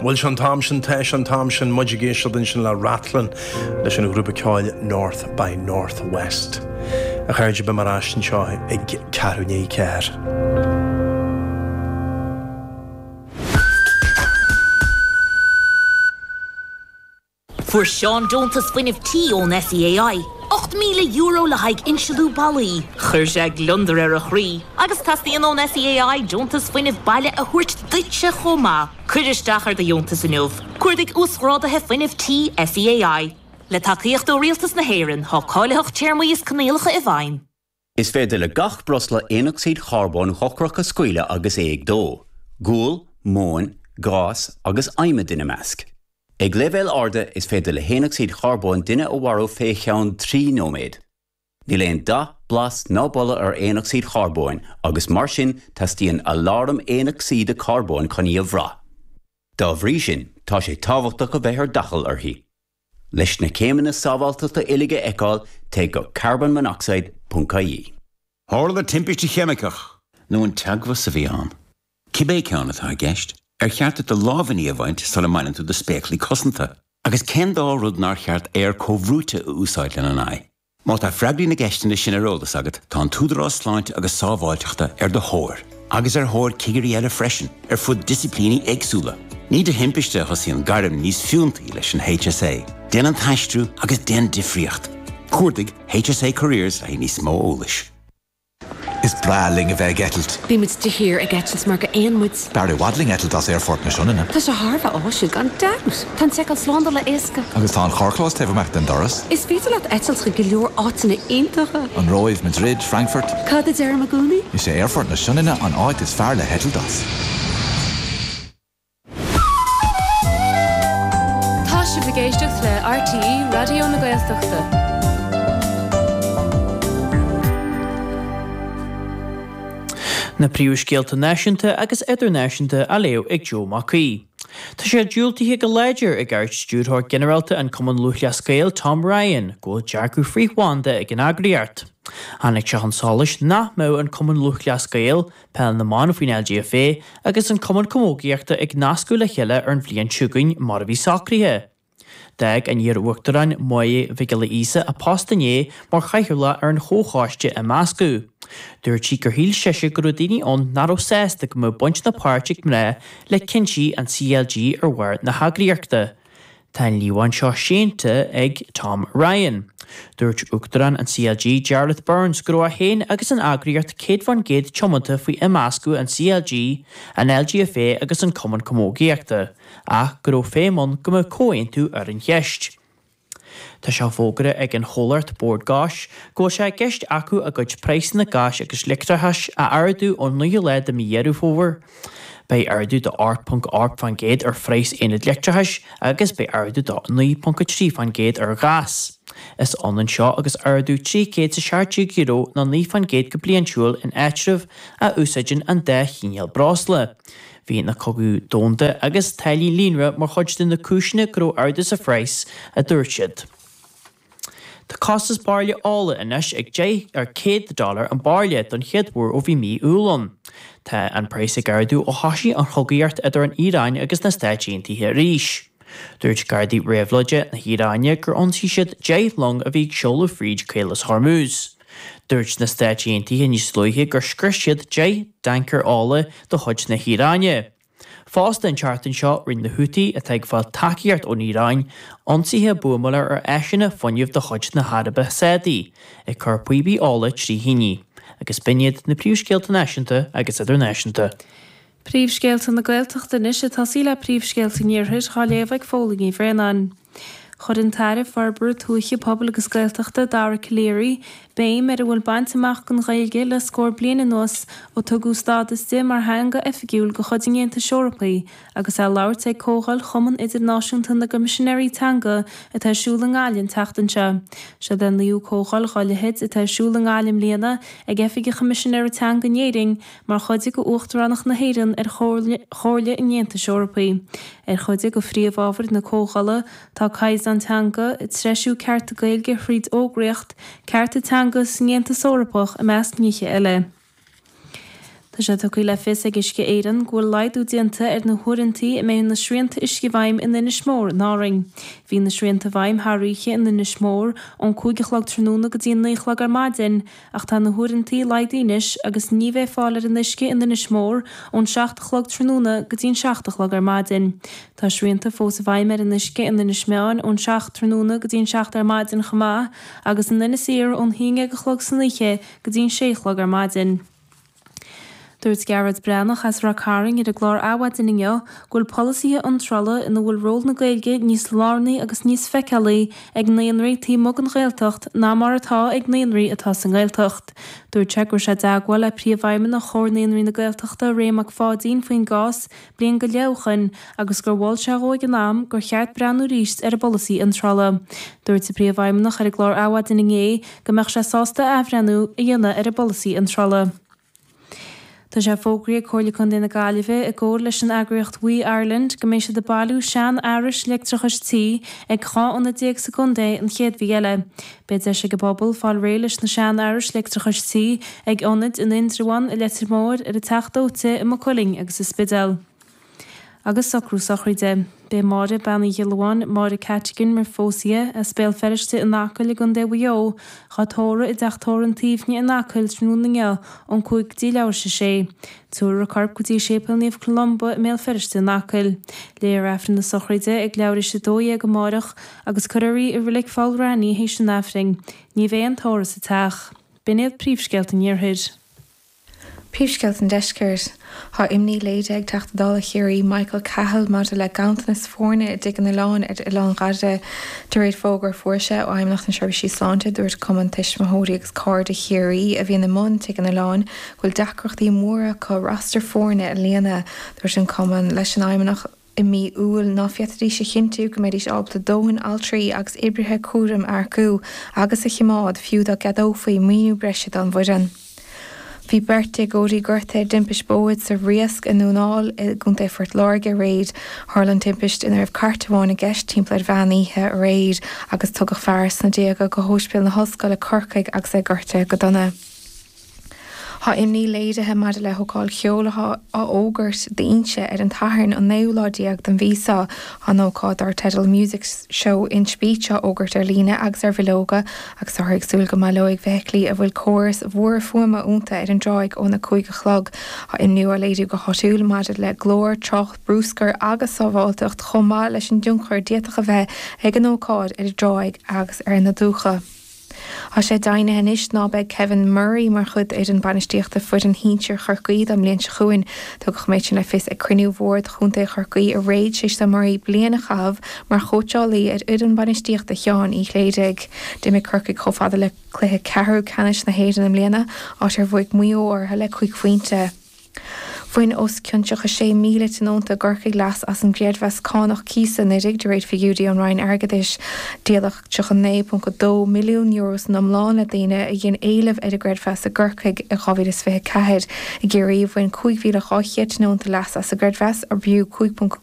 Bhuel, sé an t-am sin, tá sé an t-am sin, muid ag éisteacht ansin le Rathlin leis an ghrúpa ceoil North by North West. A chairde, beidh mé ar ais anseo ag ceathrú i ndiaidh a 4. Fuair Seán deontas fuinnimh tí ón SEAI, €8,000 le haghaidh insealú ballaí. Chuir sé gliondar ar a chroí. Agus teastaíonn ón SEAI deontas fuinnimh baile a thabhairt duitse chomh maith. Cuir isteach ar do dheontas inniu. Cuardaigh Uasghráduithe Fuinnimh Tí SEAI. Le tacaíocht ó Rialtas na hÉireann, tá cáilitheacht, téarmaí is coinníollacha i bhfeidhm. Is féidir le gach breosla aonocsaíd charbóin dhochrach a scaoileadh agus é ag dó, gual, móin, gás agus adhmad ina measc. Ag leibhéil arda, is féidir le haonocsaíd charbóin duine a mharú fé cheann 3 nóiméad. Níl aon dath, blas ná boladh ar aonocsaíd charbóin agus mar sin teastaíonn aláram aonocsaíde carbóin chun í a bhrath. Dá bhrí sin, tá sé tábhachtach a bheith ar d'fhaichill uirthi. Leis na céimeanna sábháilteachta uilig a fheiceáil, téigh go carbonmonoxide ponc ie. Tharla timpiste cheimiceach. Nó an teagmhas a bhí ann? Cibé ceann atá i gceist, ar cheart duit do lámhainní a bhaint sula mbaineann tú do spéaclaí cosanta? Agus cén dá rud nár cheart aer comhbhrúite a úsáid lena n-aghaidh? Má tá freagraí na gceisteanna sin ar eolas agat, tá an tÚdarás Sláinte agus Sábháilteachta ar do thóir, agus ar thóir cigirí eile freisin, ar fud disciplíní éagsúla. Ní de thimpiste a thosaíonn gairm níos fiúntaí leis an HSA. Déan an t-aistriú agus déan difríocht! Cuardaigh HSA Careers le haghaidh níos mó eolais. Is breá linn a bheith ag eitilt. Bímid de shíor ag eitilt mar gur éin muid. B'fhearr i bhfad linn eitilt as Aerfort na Sionainne. Tá sé thar a bheith áisiúil, gan dabht! Tá an tseiceáil slándála éasca. Agus tá an carrchlós taobh amuigh den doras. Is féidir leat eitilt chuig go leor áiteanna iontacha. An Róimh, Madrid, Frankfurt. Cad a deirim i gcónaí? Is é Aerfort na Sionainne an áit is fearr le heitilt as. Tá sibh ag éisteacht le RTÉ Raidió na Gaeltachta. Na príomhscéalta náisiúnta agus idirnáisiúnta á léamh ag Joe Mac Aoidh. Tá sé diúltaithe go láidir ag Ard-Stiúrthóir Ginearálta an Cumann Lúthchleas Gael, Tom Ryan, go bhfuil dearcadh frith-bhanda ag an eagraíocht. Tháinig sé chun solais nach mbeadh an Cumann Lúthchleas Gael, Peil na mBan faoin LGFA agus an Cumann Camógaíochta ag nascadh le chéile ar an bhliain seo chugainn mar a bhí socraithe. D'fhág an iar-uachtarán Máire Mhic Giolla Íosa a post inné mar chathaoirleach ar an chomhchoiste imeasctha. Dúirt sí gur shíl sise go raibh daoine ann nach raibh sásta go mbeadh baint ná páirt ag mná le cinntí an CLG ar bharr na heagraíochta. Tá an líomhain seo séanta ag Tom Ryan. Dúirt Uachtarán an CLG, Jarlath Burns, go raibh é féin agus an eagraíocht 100% tiomanta faoi imeascadh an CLG, an LGFA agus an Cumann Camógaíochta, ach go raibh feidhm ann go mbeadh comhaontú ar an cheist. Tá sé fógartha ag an chomhlacht Bord Gáis go bhfuil sé i gceist acu a gcuid praghsanna gáis agus leictreachais a ardú ón 9ú lá de mhí Dheireadh Fómhair. Beidh ardú de 8.8% ar phraghas aonad leictreachais agus beidh ardú de 9.3% ar ghás. Is ionann seo agus ardú €317 nó 9% go bliantúil in áitribh a úsáideann an dá chineál breosla. Bhí na cogadh domhanda agus táillí líonra mar chuid de na cúiseanna go raibh ardú sa phraghas, a dúirt siad. Tá costas bairille ola anois ag 10 ar 100 dollar an bairille don chéad uair ó bhí mí Iúil ann. Tá an praghas ag ardú ó thosaigh an chogaíocht idir an Iaráin agus na Stáit Aontaithe arís. Dúirt Gardaí Réabhlóide na hIaráine gur ionsaigh siad 10 long a bhí ag seoladh fríd Caolas Hormuz. Dúirt na Stáit Aontaithe níos luaithe gur scrios siad 10 dtancaer ola de chuid na hIaráine. Fosta an tseachtain seo rinne na Houthi, atá ag fáil tacaíocht ón Iaráin, ionsaithe buamála ar áiseanna fuinnimh de chuid na hAraibe Sádaí, ag cur píopaí ola trí thine. Agus b'in iad na príomhscéalta náisiúnta agus idirnáisiúnta. Príomhscéalta na Gaeltachta anois ag tosaí le príomhscéalta an Iarthair á léamh ag Fódhla Ní Bhraonáin. Chuir an tAire Forbartha Tuaithe, Pobail agus Gaeltachta, Dara Calleary, béim ar a bhfuil bainte amach don Ghaeilge le scór bliain anuas ó tugadh stádas di mar theanga oifigiúil de chuid an Aontais Eorpaigh agus é ag labhairt ag Comhdháil Chumann Idirnáisiúnta na gCoimisinéirí Teanga atá ar siúl i nGaillimh an tseachtain seo. Seod é an naoú comhdháil dhá leithéid atá ar siúl i nGaillimh i mbliana ag Oifig an Choimisinéara Teanga in Éirinn mar chuid de Uachtaránacht na hÉireann ar Chomhairle an Aontais Eorpaigh. Ar chuid de phríomhábhair na comhdhála tá caighdeán teanga, treisiú cearta Gaeilge thríd fhógraíocht, cearta teanga san Aontas Eorpach i measc nithe eile. Tá sé tugtha le fios ag Uisce Éireann go bhfuil laghdú déanta ar na huaireanta a mbeidh na srianta uisce i bhfeidhm in Inis Mór in Árainn. Bhí na srianta i bhfeidhm thar oíche in Inis Mór ón 5 a chlog tráthnóna go dtí an 9 a chlog ar maidin ach tá na huaireanta laghdaithe anois agus ní bheidh fáil ar an uisce in Inis Mór ón 7 a chlog tráthnóna go dtí an 7 a chlog ar maidin. Tá srianta fós i bhfeidhm ar an uisce in Inis Meáin ón 7 tráthnóna go dtí an 7 ar maidin chomh maith agus in Inis Oírr ón 11 a chlog san oíche go dtí an 6 a chlog ar maidin. Dúirt Gearóid Breathnach as Ráth Cairn ar an gclár Adhmhaidin inniu go bhfuil polasaithe iontrála ina bhfuil ról na Gaeilge níos lárnaí agus níos feiceálaí ag naíonraí taobh amuigh den Ghaeltacht ná mar atá ag naíonraí atá sa nGaeltacht. Dúirt sé go raibh sé i dteagmháil le Príomhfheidhmeannach Chomhar Naíonraí na Gaeltachta, Ray Mac Pháidín faoin gcás bliain go leith ó shoin agus gur mhol sé dhó ag an am gur cheart breathnú arís ar an bpolasaí iontrála. Dúirt an Príomhfheidhmeannach ar an gclár Adhmhaidin inné go mbeadh sé sásta athbhreithniú a dhéanamh ar an bpolasaí iontrála. Tá sé fógraithe ag Comhairle Contae na Gaillimhe i gcomhar leis an eagraíocht We Ireland go mbeidh siad ag bailiú sean-fhearais leictreachais tí ag 12 ionad sa gcontae an chéad mhí eile. Beidh deis ag an bpobal fáil réidh leis na sean-fhearais leictreachais tí ag ionaid in Indreabhán, i Leitir Móir, ar an Teach Dóite, i Maigh Cuilinn agus sa Spidéal. Agus socrú sochraide. Beidh Máire Bean Uí Ghiollamháin, Máire Cattigan mar phós í, as Béal Feirste in Acaill i gContae Mhaigh Eo, dhá tórramh i dTeach Tórraimh an tSuibhne in Acaill tráthnóna inniu ón 5 go dtí leathuair tar éis a sé. Tabharfar a corp go dtí Séipéal Naomh Columba i mBéal Feirste in Acaill. Léifear Aifreann na sochraide ag leathuair tar éis a 12 amáireach agus cuirfear í i Reilig Pholl Raithní théis an Aifrinn. Ní bheidh aon tórramh sa teach. B'in iad príomhscéalta an Iarthair. Príomhscéalta an Deiscirt. Tá imní léirithe ag Teachta Dála Chiarraí Michael Cahill maidir le ganntanas foirne i dTigh an Oileáin ar Oileán Ghaide. De réir fógra a fuair sé ó Fheidhmeannacht na Seirbhísí Sláinte, dúirt Cumann Tuismitheoirí agus Cairde Chiarraí a bhíonn i mbun Tigh an Oileáin go bhfuil deacrachtaí móra acu roster foirne a líonadh. Dúirt an Cumann leis an Fheidhmeannacht i mí Iúil ná féadfaidís a chinntiú go mbeidís ábalta dóthain altraí agus oibrithe cúraim a earcú agus a choimeád fiú dá gceadófaí maoiniú breise don bhfoireann. Bhí beirt déagóirí gortaithe i dtimpist bóthair sa Riasc i nDún Áill i gContae Phort Láirge aréir. Tharla an timpist ina raibh cairt amháin i gceist timpeall ar mheán oíche aréir agus tugadh fear sna déaga go hOspidéal na hOllscoile Corcaigh agus é gortaithe go dona. Tá imní léirithe maidir le hócáid cheoil atá á fhógairt d'Inse ar an tSatharn an naoú lá déag den mhí seo. Tá an ócáid dar teideal Music Show Inch Beach á fhógairt ar líne agus ar bhileoga agus táthar ag súil go mbaileoidh feithiclí a bhfuil córais mhóra fuaime iontu ar an dtráigh óna 5 a chlog. Tá imní á léiriú go háitiúil maidir le glór, trácht, bruscar agus sábháilteacht chomh maith leis an dtionchar a d'fhéadfadh a bheith ag an ócáid ar an dtráigh agus ar na dumhcha. Tá sé deimhnithe anois ná beidh Kevin Murray mar chuid d'fhoireann bainistíochta foireann shinsir Chorcaí don mbliain seo chugainn. Tugadh an méid sin le fios ag cruinniú Bhord Chontae Chorcaí aréir tar éis do Murray bliain a chaitheamh mar chóitseálaí ar fhoireann bainistíochta Sheáin Uí Chléirigh. D'imigh Corcaigh chomh fada le cluiche ceathrú ceannais na hÉireann i mbliana, áit ar bhuaigh Maigh Eo orthu le cúig phointe. Bhain os cionn 36,000 tionónta i gCorcaigh leas as an gcreidmheas cánach cíosa anuraidh, de réir figiúirí ón Roinn Airgeadais. Díoladh €39.2 milliún san iomlán le daoine a dhein éileamh ar an gcreidmheas i gCorcaigh i 2024. I gCiarraí, bhain 5,200 tionónta leas as an gcreidmheas, arbh fhiú 5.